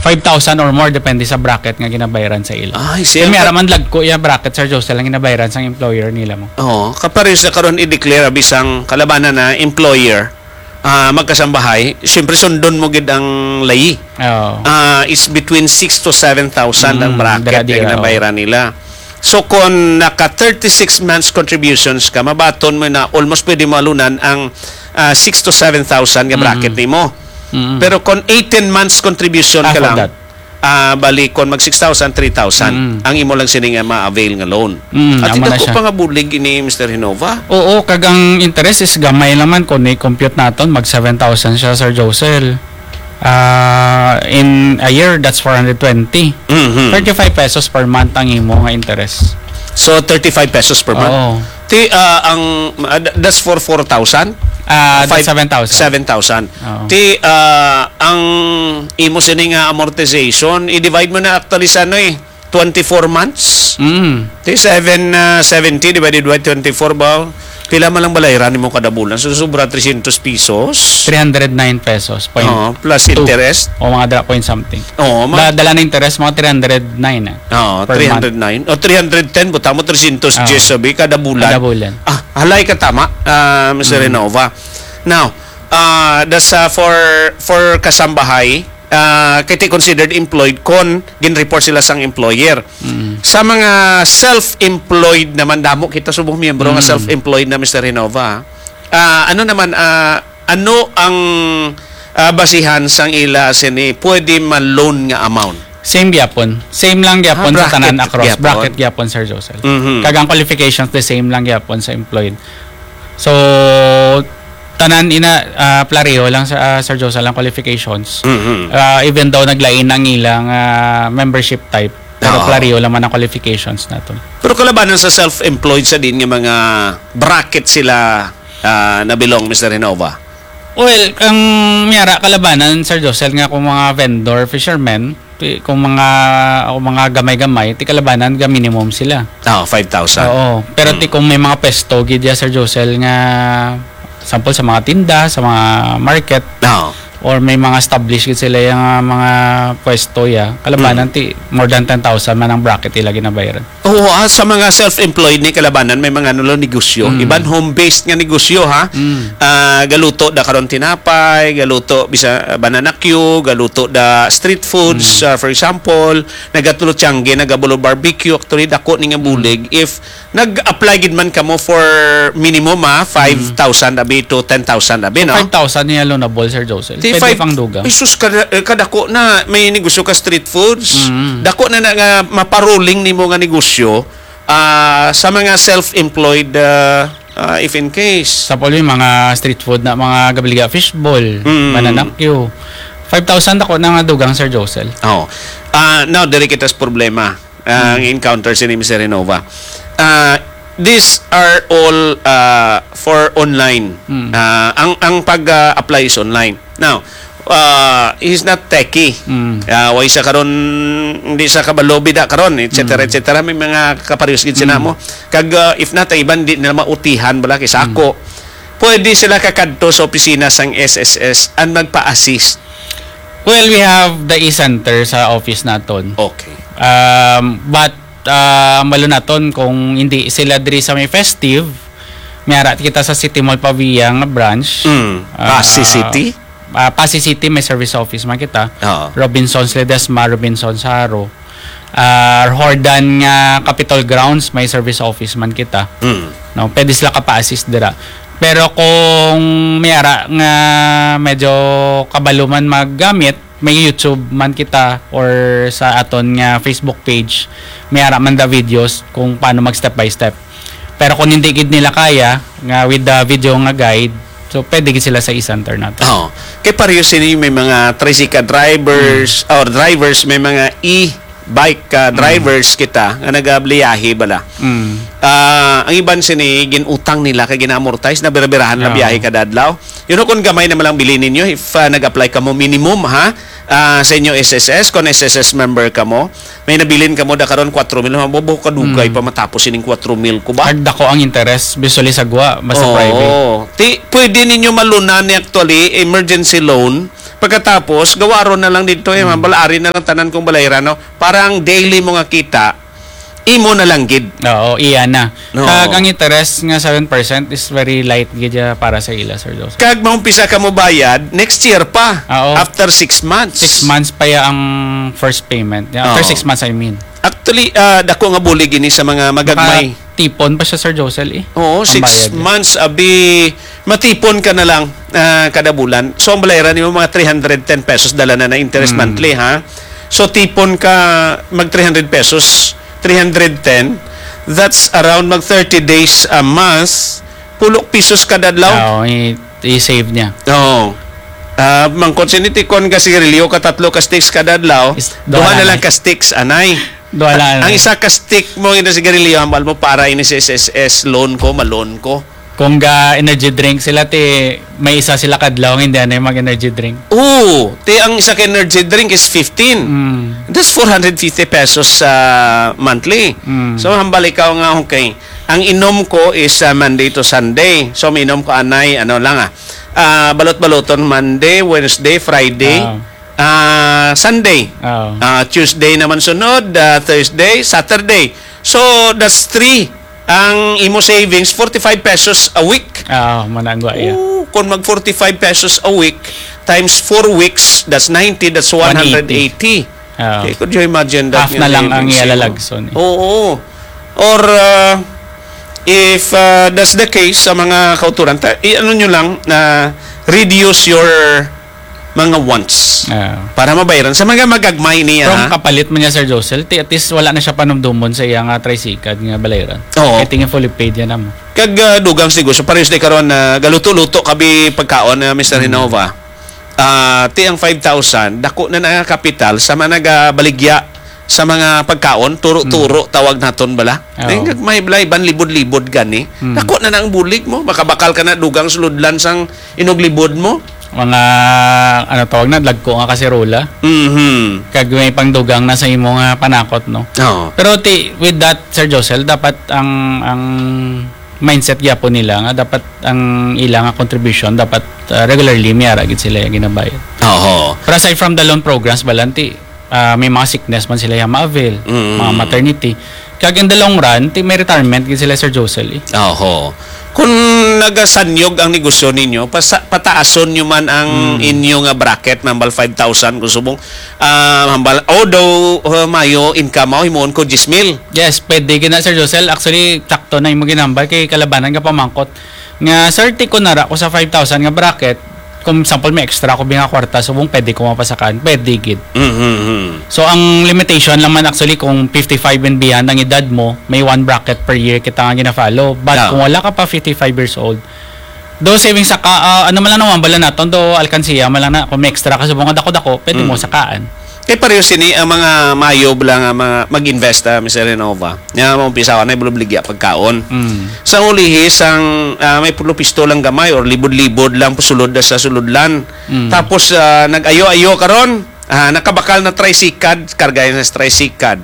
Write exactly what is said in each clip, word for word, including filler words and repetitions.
five thousand or more, depende sa bracket nga ginabayaran sa ila. Ay, siya Kaya may ka- araman lagko iya bracket, Sir Josel, ang ginabayaran sang employer nila mo. Oo, kapares na karon i-declare bisang kalabanan na employer, ah, magkasambahay, siyempre sundon mo gid ang layi. Oo. Ah, is between six to seven thousand ang Mm, bracket dira, na dira, ginabayaran nila. So kung naka thirty-six months contributions ka, mabaton mo na almost pwede mo alunan ang ah, six to seven thousand nga bracket nimo. Mm. Pero kung eighteen months contribution Half ka of lang, that. ah, bali kung mag six thousand, three thousand Mm. ang imo lang sini nga ma-avail nga loan. Mm, At amo na dako siya. pa nga bulig ini, Mister Hinova. Oo, kag ang interest is gamay lang man kung i-compute naton, mag seven thousand siya, Sir Josel. Ah, in a year, that's four hundred twenty. Mhm. Thirty-five pesos per month ang imo nga interest. So, thirty-five pesos per month. Oo. Ti, ah, ang, ah, th- that's for four thousand? Ah, Five- seven thousand. Seven thousand. Oo. Ti, ah, ang imo sini nga amortization, i-divide mo na actually sa ano eh, twenty-four months. Mm. Ti, seven, ah, seventy divided by twenty-four ba? Pila man lang balayran nimo kada bulan? So, sobra three hundred pesos. Three hundred nine pesos. Point Oo, plus two. Interest. O mga dala, point something. Oo, ma- Da, dala na interest, mga three hundred nine eh. Oo, Per three hundred nine. O three hundred ten, buta mo three hundred ten Oo. sabi kada bulan. Kada bulan. Ah, halay ka tama, ah, Mister Mm. Renova. Now, ah, das, ah, for for kasambahay, ah, kay ti considered employed kon gin-report sila sang employer. Mm. Sa mga self-employed naman, damo kita subong miyembro nga Mm. self-employed na, Mister Renova. Ah, ano naman, ah, ano ang ah, basihan sang ila sini pwede ma-loan nga amount? Same gyapon. Same lang gyapon Ah, sa tanan bracket across. gyapon. Bracket gyapon, Sir Josel. Mhm. Kag ang qualifications the same lang gyapon sa employed. So, tanan ina, ah, pareho lang sa, ah, Sir Josel, ang qualifications. Mhm. Ah, even though naglain ang ilang ah, membership type, pero Oo. Pareho lang man ang qualifications naton. Pero kalabanan sa self-employed sa din nga mga bracket sila ah, na belong, Mister Renova? Well, ang miyara kalabanan, Sir Josel, nga kung mga vendor, fishermen, ti- kung mga kung mga gamay-gamay, ti kalabanan ga minimum sila. Ah, five thousand. Oo. Pero ti kung may mga pwesto gid ya, Sir Josel, nga sample sa mga tinda, sa mga market, Oo. or may mga established gid sila yung ah, mga pwesto ya, kalabanan ti more than ten thousand man ang bracket ila ginabayaran. Oo, ah, sa mga self-employed ni kalabanan, may mga ano lang negosyo. Mm. Iban home-based nga negosyo, ha? Mm. Ah, galuto da karon tinapay, galuto bisa banana cue, galuto da street foods, ah, for example, nagatulo tiangge, nagabulo barbecue, actually dako ni nga bulig if nag-apply gid man kamo for minimum, ah, five thousand abi to ten thousand abi, no? Five thousand niya loanable, Sir Josel. Ti Pwede five, pang dugang. Jesus, kada, eh, kadako na may negosyo ka street foods. Mm. Dako na na nga maparuling nimo nga negosyo ah, sa mga self-employed ah, ah, if in case. Sa puli, mga street food na mga gabliga fishball, Mm. banana cue. Five thousand ako na nga dugang, Sir Josel. Oh. Ah, now, diri kita sa problema ah, ang encounter sini Mister Renova. Ah, these are all ah, for online. Mm. Ah, ang ang pag-apply is online. Now, ah, he's not techie. Mm. Ah, way sa karon, hindi sa kabalo bida karon, et cetera, et cetera. May mga kapareho gid sila mo. Kag ah, if not, iban di nila mautihan bala kay sa ako. Pwede sila kakadto sa opisina sang S S S and magpa-assist. Well, we have the e-center sa office naton. Okay. Um, but uh, malo naton kung hindi sila diri sa may festive, may ara kita sa City Mall Pavia nga branch. Mm. Ah, Passi City? Ah, Passi City may service office man kita. Oo. Robinsons Ledesma, Robinsons Jaro. Ah, Jordan nga Capitol Grounds may service office man kita. Mm. No, pwede sila kapa-assist dira. Pero kung may ara nga medyo kabalo man maggamit, may YouTube man kita or sa aton nga Facebook page, may ara man da videos kung paano mag step by step. Pero kung hindi gid nila kaya nga with the video nga guide, so pwede gid sila sa e-center nato. Oh, kay pareho sini may mga tricycle drivers or drivers, may mga e-bike ah, drivers kita nga nagabliyahe bala. Mm. Ah, ang iban sini ginutang nila kay gina-amortize na birabirahan na Oo. biyahe kada adlaw. You know, kung gamay naman lang bilin ninyo, if ah, nag-apply ka mo minimum ha, ah, sa inyo S S S, kung S S S member ka mo, may nabilin ka mo da karon four mil, mabubo kadugay Mm. pa matapos ining four mil ko ba? Kag dako ang interest, usually sa gwa, basta Oo. private. Ti, pwede ninyo malunan ni actually emergency loan Pagkatapos, gawaron na lang dito, eh, Hmm. mabalari na lang tanan kong balayran, no? Parang daily mo nga kita, imo na lang gid. Oo, iya na. No. Kag ang interest nga seven percent is very light gid ya para sa ila, Sir Joseph. Kag maumpisa ka mo bayad next year pa, Oo. after six months. Six months pa ya ang first payment. Ya, after Oo. six months, I mean. Actually, ah, dako nga bulig ini sa mga magagmay. Makatipon pa siya, Sir Josel, eh. Oo, Ang six bayad niya. months, abi, matipon ka na lang, ah, kada bulan. So, ang balayran nimo mga three hundred ten pesos, dala na na interest Mm. monthly, ha? So, tipon ka mag three hundred pesos, three hundred ten, that's around mag thirty days a month, pulo pesos kada adlaw. Oo, i-, i-save niya. Oo. Ah, mangkot sini tikon ka sigarilyo ka tatlo ka sticks kada adlaw, Is, duha duha na na lang lang. ka sticks, anay. Duha lang, Ang eh. isa ka stick mo, ina sigarilyo, hambal mo, para ini sa S S S, loan ko, ma-loan ko. Kung ga energy drink sila, ti, may isa sila kadlaw, hindi na yung mag-energy drink. Oo, ti, ang isa ka energy drink is fifteen. Mm. That's four hundred fifty pesos, ah, monthly. Mm. So, hambal ikaw nga, okay, ang inom ko is, ah, Monday to Sunday. So, minom ko anay, ano lang, ah, ah, balot-baloton, Monday, Wednesday, Friday. Ah. Ah, Sunday. Oo. Ah, Tuesday naman sunod, ah, Thursday, Saturday. So, that's three. Ang imo savings, forty-five pesos a week. Oo, managwa, yeah. Oo, kung mag forty-five pesos a week, times four weeks, that's ninety, that's One eighty. one hundred eighty. Oo. Okay, could you imagine that Half nga na lang ang savings, iyala eh? lagson, eh. Oo. Or, ah, if, ah, that's the case, sa mga kauturan, ta-, i-, ano nyo lang, na reduce your mga wants. Ah. Para mabayaran. Sa mga magagmay niya, From ha? kapalit man niya, Sir Josel, ti at least wala na siya panumdumon sa iya nga tricycad nga balayran. Oo. I think fully paid yan, amo. Kag, ah, dugang sa negosyo, parehas di karon na galuto-luto kabi pagkaon, ah, Mister Hmm. Renova. Ah, ti ang five thousand, dako na na nga kapital sa mga nagabaligya sa mga pagkaon, turo-turo, Hmm. tawag naton bala. Oo. Di, may balay, ban libod-libod gani. Hmm. Dako na na ang bulig mo, makabakal ka na dugang suludlan sang inog libod mo. Mga, ano tawag na, lagko nga kaserola. Mhm. Kag may pangdugang na sa imo nga panakot, no? Oo. Pero ti, with that, Sir Josel, dapat ang, ang mindset gyapon nila nga dapat ang ila nga contribution dapat, ah, regularly may ara gid sila ginabayad. Oo. Pero aside from the loan programs, balanti, ah, may mga sickness man sila yang ma-avail, Mm. mga maternity. Kag in the long run, ti may retirement gid sila, Sir Josel, eh. Oho. Kung nagasanyog ang negosyo ninyo, pasa-, pataason nyo man ang Mm. inyo nga bracket, hambal five thousand kung subong, ah, hambal, although, uh, mayo income mo, himuon ko diyes mil. Yes, pwede gid na, Sir Josel. Actually, sakto na imo ginambal kay kalabanan ka pamangkot. Nga, sir, ti ko nara ko sa five thousand nga bracket, kung example, may extra ko bi nga kwarta, subong pwede ko mapasakan, pwede gid. Mm-hmm. So, ang limitation lang man actually kung fifty-five and beyond ang edad mo, may one bracket per year kita nga gina-follow. But Ah. kung wala ka pa fifty-five years old, do saving sa ka, ah, ano man lang naman, bala naton, do alkansiya man lang na, kung may extra ka, subong nga dako-dako, pwede mo Mm. sakaan. Kay pareho sini ang mga mayo lang nga mga mag-invest, ah, Mister Renova. Nga maumpisa ka na, ibulubligya pagkaon. Mm. Sa ulihi, sang, ah, may pulo pisto lang gamay or libod-libod lang sulod sa sulodlan. Mm. Tapos, ah, nag-ayo-ayo karon, ah, nakabakal na tricycad, kargayan sa tricycad.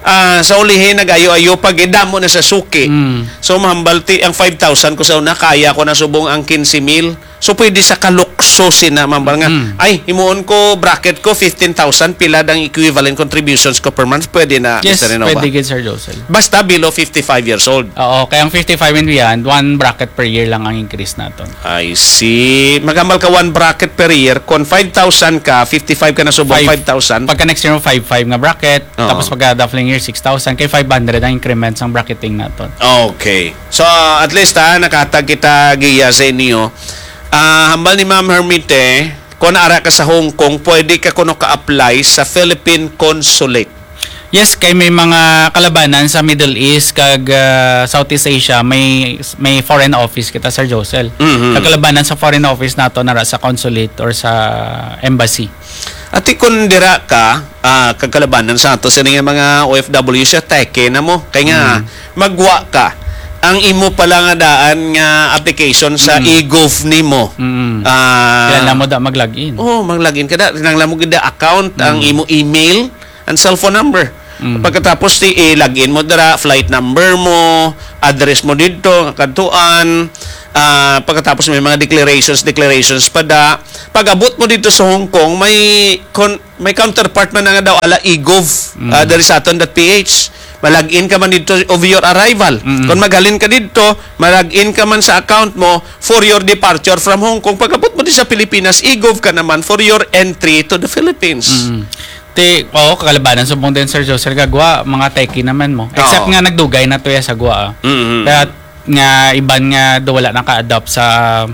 Ah, sa ulihi, nag-ayo-ayo pag idamo na sa suki. Mm. So, mahambalti ang five thousand ko sa una, kaya ko na subong ang quince mil. So, pwede sa kalukso sina, ma'am, nga, Mm. "Ay, himuon ko, bracket ko, fifteen thousand, pila dang equivalent contributions ko per month?" Pwede na, Yes, Mister Renova. Pwede gid, Sir Josel. Basta below fifty-five years old. Oo, kaya ang fifty-five and beyond, one bracket per year lang ang increase naton. I see. Maghambal ka one bracket per year. Kung five thousand ka, fifty-five ka na subong, Five. five thousand. Pagka next year mo, five five nga bracket. Oo. Tapos pagka the following year, six thousand. Kay five hundred ang increment sang bracketing naton. Okay. So, at least, ha, nakahatag kita giya sa inyo. Ah, hambal ni Ma'am Hermite, kung ara ka sa Hong Kong, pwede ka kuno ka-apply sa Philippine Consulate. Yes, kay may mga kalabanan sa Middle East kag, ah, Southeast Asia, may, may foreign office kita, Sir Josel. Mhm. Ang kalabanan sa foreign office nato nara sa consulate or sa embassy. Ati, kung dira ka, ah, kag kalabanan sa ato, sini nga mga O F W siya, teke na mo. Kay nga, Mm. magwa ka. Ang imo pala nga daan nga application sa Mm. e-gov nimo. Mm. Ah, Kailangan mo da mag-login. Oo, mag-login ka da. Kinahanglan mo gid da account, ang Mm. imo email, and cellphone number. Mm. Pagkatapos, ti, i-login mo dira, flight number mo, address mo didto, nga kadtuan, Ah, pagkatapos may mga declarations, declarations pa da. Pag-abot mo dito sa Hong Kong, may con-, may counterpart man na nga daw ala e-gov, Mm. ah, diri sa aton dot P H. Malagin ka man dito of your arrival. Mm. Kung maghalin ka dito, malagin ka man sa account mo for your departure from Hong Kong. Pag-abot mo di sa Pilipinas, e-gov ka naman for your entry to the Philippines. Mm. Ti, oo, kakalabanan subong din, Sir Josel, kagwa, mga techie naman mo. Except Oo. nga nagdugay na to ya sa gwa, ah. Mm-hmm. Kaya nga iban nga do wala naka-adapt sa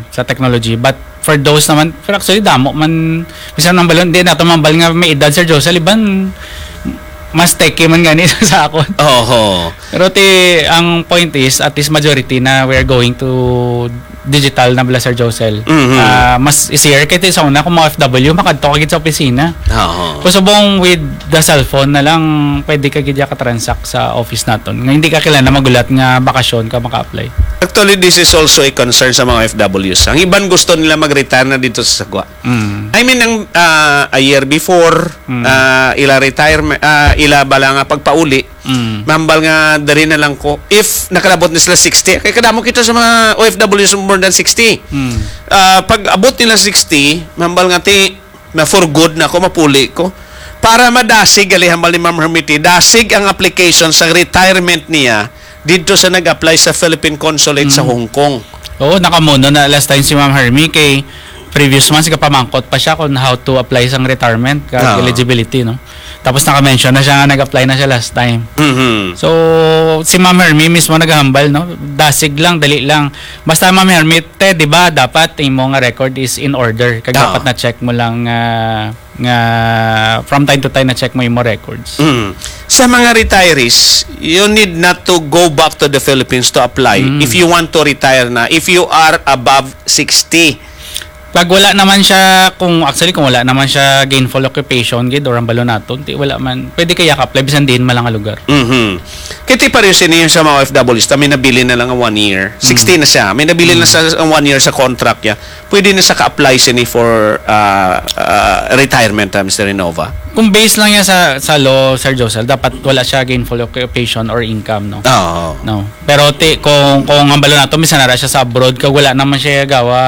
sa technology. But for those naman, pero actually damo man, bisan ang balon, di nato mambal nga may edad, Sir Josel, iban mas techie man gani sa akon. Oho. Pero ti, ang point is, at least majority na we're going to digital na bala, Sir Josel. Mhm. Ah, mas easier kay ti sa una kung mga O F W, makadto ka gid sa opisina. Oo. Kung subong with the cellphone na lang, pwede ka gid ya ka-transact sa office naton. Nga hindi ka kailangan magulat nga bakasyon ka maka-apply. Actually, this is also a concern sa mga O F Ws. Ang iban gusto nila mag-retire na dito sa Sagwa. Mm. I mean, ang, ah, a year before, Mm. ah, ila retirement, ah, ila bala nga pagpauli, Mm. mambal nga diri na lang ko. If nakalabot na sila sixty, kay kadamo kita sa mga O F Ws more than sixty. Mm. Ah, pag abot nila sixty, mambal nga ti, na for good na ko, mapuli ko. Para madasig, gali hambal ni Ma'am Hermity, dasig ang application sa retirement niya didto sa nag-apply sa Philippine Consulate sa Mm. Hong Kong. Oo, nakamuno na last time si Ma'am Hermie kay previous months kapamangkot pa siya kung how to apply sang retirement, kag Ah. eligibility, no? Tapos naka-mention na siya nga nag-apply na siya last time. Mhm. So, si Ma'am Hermie mismo naghambal, no? Dasig lang, dali lang. Basta, Ma'am Hermie, te, di ba, dapat imo nga record is in order. Kag Ah. dapat na-check mo lang, ah, nga from time to time na-check mo imo records. Mm. Sa mga retirees, you need not to go back to the Philippines to apply Mm. if you want to retire na, if you are above sixty. Pag wala naman siya, kung, actually, kung wala naman siya gainful occupation, gid, or ang balo naton, ti wala man, pwede kaya ka-apply, bisan diin man lang nga lugar. Mhm. Kaya ti pareho sini yung sa mga O F Ws, ta may nabilin na lang nga one year. Sixty Mm. na siya. May nabilin na Mm. sa, ang one year sa contract niya. Pwede na sa ka-apply sini for, ah, ah, retirement, ah, Mister Renova? Kung base lang yan sa, sa law, Sir Josel, dapat wala siya gainful occupation or income, no? Oo. No. Pero ti, kung, kung ang balo nato, misan nara siya sa abroad, kag wala naman siya gawa,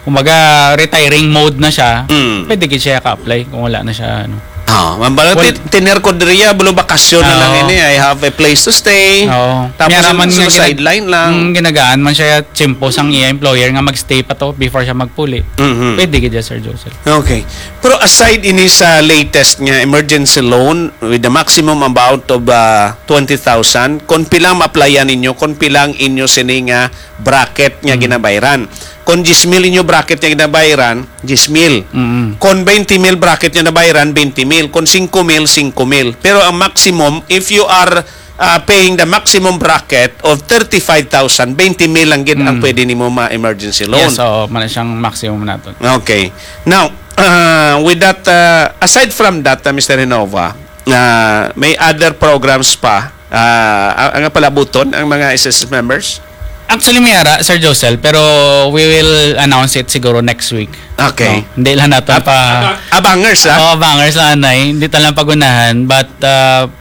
kumbaga, retiring mode na siya, Mm. pwede gid siya ka-apply kung wala na siya, ano. Ah, mambalo, Well, ti-, tiner ko diriya, bulo bakasyon na lang Oo. ini. I have a place to stay. Oo. Tapos May raman yung nga gina-, sideline lang. Mm, ginagaan man siya, tsimpo sang iya employer nga mag-stay pa to before siya magpuli. Mhm. Pwede gid siya, Sir Joseph. Okay. Pero aside ini sa latest nga emergency loan with the maximum amount of, ah, twenty thousand, kung pila ang ma-applyan ninyo, kung pila ang inyo sini nga bracket nga Mm. ginabayran. Kung diyes mil inyo bracket nga ginabayran, diyes mil. Mm. Kung twenty mil bracket nga nabayran, twenty mil. Kung singko mil, singko mil. Pero ang maximum, if you are, uh, paying the maximum bracket of thirty-five thousand, twenty mil lang gid ang Mm. pwede nimo ma-emergency loan. Yes, oo, man siyang maximum naton. Okay. Now, uh, with that, uh, aside from that, uh, Mister Renova, uh, may other programs pa, uh, ang, ang palabuton ang mga S S S members? Actually, may ara, Sir Josel, pero we will announce it siguro next week. Okay. No? Hindi lang natin Ab-, pa abang-, abangers, ah? Oo, abangers lang, anay. Hindi tayo lang pagunahan. But, uh,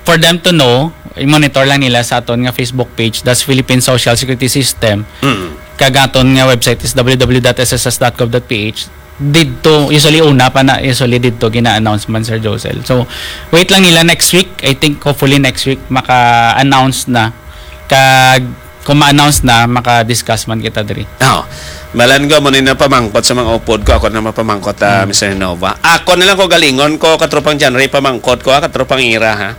for them to know, i-monitor lang nila sa aton nga Facebook page, that's Philippine Social Security System. Mm. Kag aton nga website is W W W dot S S S dot gov dot P H. Didto, usually una pa na, usually didto gina-announce man, Sir Josel. So, wait lang nila next week. I think hopefully next week maka-announce na. Kag kung ma-announce na, maka-discuss man kita diri. Oh, balan ko, mo ni napamangkot sa mga upod ko. Ako na mapamangkot, ah, Hmm. Mister Nova. Ako na lang ko galingon ko, katropang John Ray, pamangkot ko, ah, katropang Ira, ha.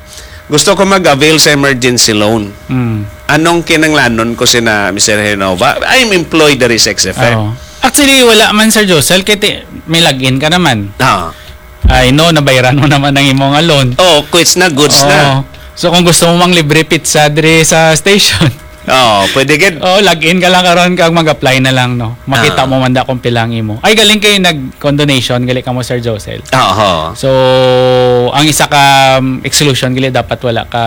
Gusto ko mag-avail sa emergency loan. Hmm. Anong kinanglanon ko sina Mister Renova? I'm employed diri sa X F M. Oo. Actually, wala man, Sir Josel, kay ti-, may login ka naman. Ah. I know, nabayaran mo naman ang imong loan. Oh, quits na, goods Oo. na. So, kung gusto mo mang libre pizza diri sa station, Oh, pwede gid. Oh, log in ka lang karon kag mag-apply na lang, no? Makita Ah. mo man da kung pila ang imo. Ay, galing kay nag-condonation, gali ka mo, Sir Josel. Oo. So, ang isa ka, um, exclusion, gali dapat wala ka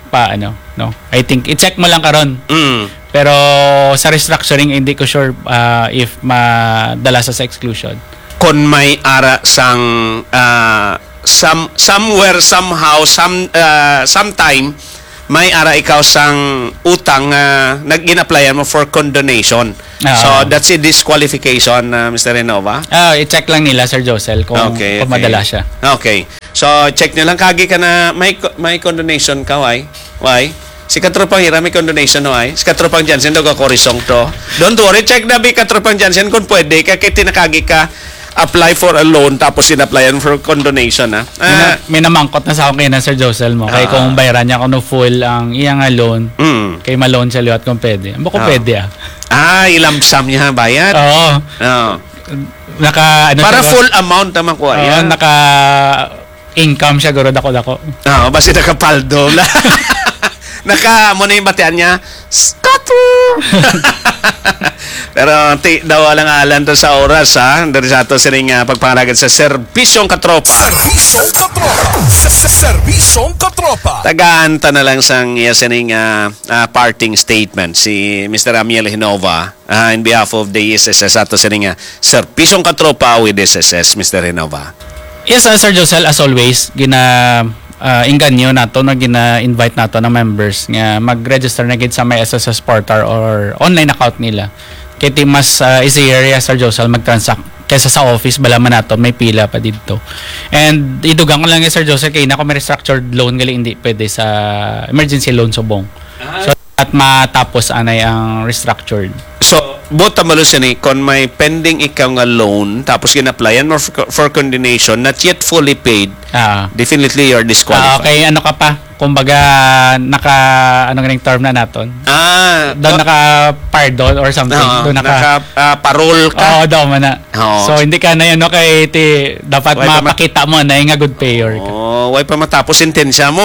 pa, ano, no? I think, i-check mo lang karon. Mm. Pero sa restructuring, hindi ko sure, ah, if madala sa, sa exclusion. Kon may ara sang, ah, some-, somewhere, somehow, some, ah, sometime, may ara ikaw sang utang nga nag-in-applyan mo for condonation. Ah. So, that's a disqualification, ah, Mister Renova. Ah, i-check lang nila, Sir Josel, kung, Okay, kung okay. madala siya. Okay. So, check nyo lang. Kagi ka na may co-, may condonation ka, why? Why? Si Katropang Hira may condonation, why? Si Katropang Jansen daw ka korisong to. Don't worry, check na bi Katropang Jansen kung pwede ka, kay tinakagi ka apply for a loan tapos in-applyan for condonation, ha? May na-, Ah. may namangkot na sa akin kay na, Sir Josel, mo. Kay Ah. kung bayran niya kuno full ang iya nga loan, Mm. kay ma-loan siya liwat kung pwede. Ang bako Ah. pwede, ah. Ah, ilamsam niya bayad? Oo. Oo. Naka, ano Para siya, full amount naman ko, oo, ayan. naka income siya, guro, dako-dako. Oo, basi nakapaldo. Naka, mo na yung batian niya, Scotto! Pero ti, daw alang-alang to sa oras, ha? Diri sa ato sining, ah, pagpangalagad sa Serbisyong Katropa. Serbisyong Katropa. Sa, sa Serbisyong Katropa. Tagaan ta na lang sang iya sining, ah, ah, parting statement si Mister Amiel Hinova, ah, in behalf of the S S S ato sining, ah, Serbisyong Katropa with S S S, Mister Hinova. Yes, ah, Sir Josel, as always, gina, ah, engganyo nato, no, gina-invite nato ng members nga mag-register na gid sa may S S S portal or online account nila. Kay ti mas, ah, easier ya, Sir Josel, mag-transact kaysa sa office, bala man nato, may pila pa didto. And idugang ko lang, eh, Sir Josel, kay na kung may restructured loan gali, hindi pwede sa emergency loan subong. Ah. So, at matapos anay ang restructured. So, buot ang malusyon ni, kung may pending ikaw nga loan, tapos gin-applyan mo for, for condonation, not yet fully paid, Ah. definitely you're disqualified. Ah, okay, ano ka pa? Kumbaga, naka, ano ganing term na naton? Ah, Doon oh. naka-pardon or something. Oo, Doon naka, naka, ah, parol ka. Oo, daw man na. Oo. So, hindi ka na yun, no? Kay ti, dapat Why pa ma- mapakita mo na yung nga good payer ka. Oh, why pa matapos sentensya mo?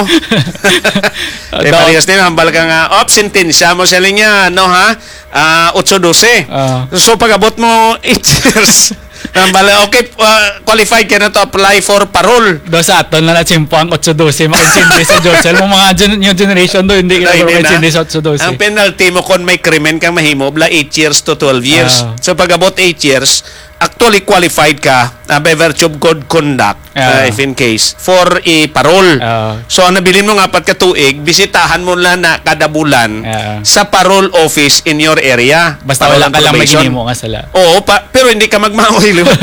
Eh, Daw. parehas din, hambal ka nga, "Op, sentensya mo," siya niya, no, ha? Ah, otso dose. Ah. So, pag-abot mo, eight years. Hambal, okay, ah, qualified ka na to apply for parole. Do sa aton na natsimpo ang otso dose, makaintindi sa Josel. Mo mga gen-, new generation do, hindi ka Dahil na na, makaintindi sa otso dose. Ang penalty mo kung may krimen kang mahimo, bla eight years to twelve years. Ah. So, pag-abot eight years, actually qualified ka, ah, by virtue of good conduct, Ah. ah, if in case, for a parole. Ah. So, ang nabilin mo nga apat ka tuig, bisitahan mo lang na kada bulan Ah. sa parole office in your area. Basta Parole wala and ka lang may probation. ginimo nga sala. Oo, pa, pero hindi ka magmaoy, di ba?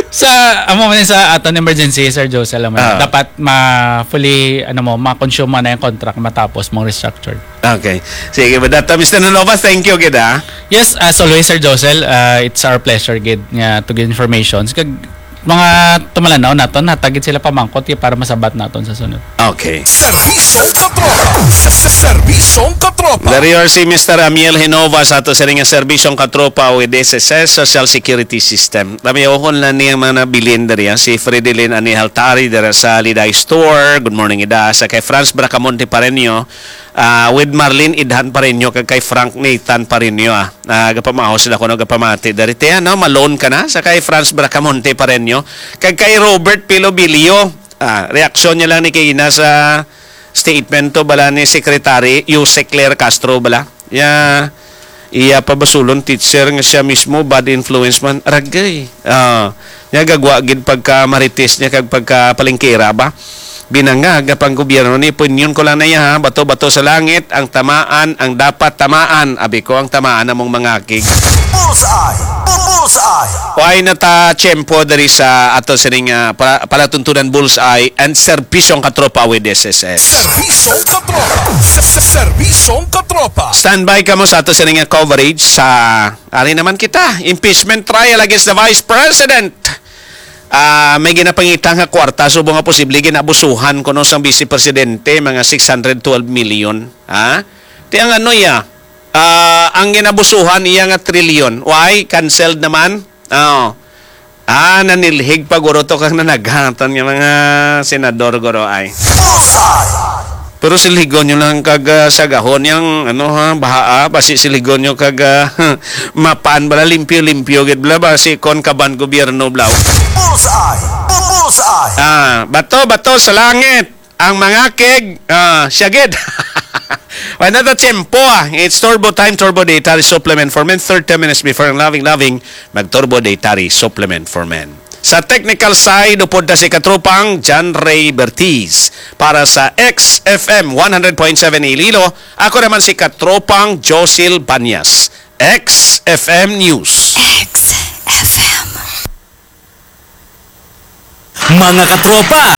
Sa, amo man sa aton emergency, Sir Josel, alam mo, Ah. dapat ma-, fully, ano mo, ma-consume mo na yung contract matapos mong restructure. Okay. Sige, with that, uh, Mister Nanova, thank you gid, ah. Yes, as always, Sir Josel, uh, it's our pleasure gid nga to give informations. Kag mga tumalanaw naton, hatag gid sila pamangkot kay para masabat naton sa sunod. Okay. Serbisyong Katropa. Sa, sa, Serbisyong Katropa. Dari si Mister Amiel Hinova sa ato sining nga Serbisyong Katropa with S S S Social Security System. Kami, ako lang niyang mga nabilin dari, ah. Si Fredelin Anihaltari dira sa Liday Store. Good morning, Ida. Sa kay Franz Bracamonte Pareño, ah, with Marlene Idhan Pareño, kag kay Frank Nathan Pareño, ah. Ah, gapamahaw sila kuno gapamati. Dari tiyan, no? Ma-loan ka na sa kay Franz Bracamonte Pareño, kag kay Robert Pilobilio. Ah, reaksyon niya lang ni kay ina sa statement to bala ni Secretary Yuse Claire Castro bala. Ya, iya pa basulon teacher nga siya mismo bad influence man. Aragay. Ah, niya gagwa gid pagka marites niya kag pagka palengkera ba. Binangag nga pang gobyerno ni, punyon ko lang na iya, ha, bato-bato sa langit, ang tamaan, ang dapat tamaan. Abi ko, ang tamaan among mangakig. Bullseye! Bullseye! Why na ta tiyempo diri sa ato sining, ah, pala-, palatuntunan Bullseye and Serbisyong Katropa with S S S. Serbisyong Katropa! Sa, sa, Serbisyong Katropa! Standby kamo sa ato sining, ah, coverage sa, ari naman kita, impeachment trial against the Vice President. Ah, may ginapangita nga kwarta subong nga posible ginabusuhan kuno sang Vice Presidente, mga six hundred twelve million. Ha? Ti ang ano iya? Ah, ang ginabusuhan iya nga trilyon. Why? Canceled naman? Oh. Ah, nanilhig pa guro to kang nanagatan nga mga senador guro ay. Bullseye! Pero silhigon nyo lang kag, ah, sagahon yang, ano, ha, bahaa, basi silhigon nyo kag, ah, mapan bala, limpyo-limpyo gid bala, basi kon kaban gobyerno bala. Bullseye! Bullseye! Ah, bato, bato sa langit. Ang mga kig, ah, siya gid. Wala na tiyempo, ah. It's Turbo Time, Turbo Data Supplement for Men. Thirty minutes before ang loving, loving, mag Turbo Data Supplement for Men. Sa technical side, upod na si katropang John Ray Bertiz. Para sa X F M one hundred point seven Iloilo, ako naman si katropang Josil Banyas. X F M News. X F M. Mga katropa,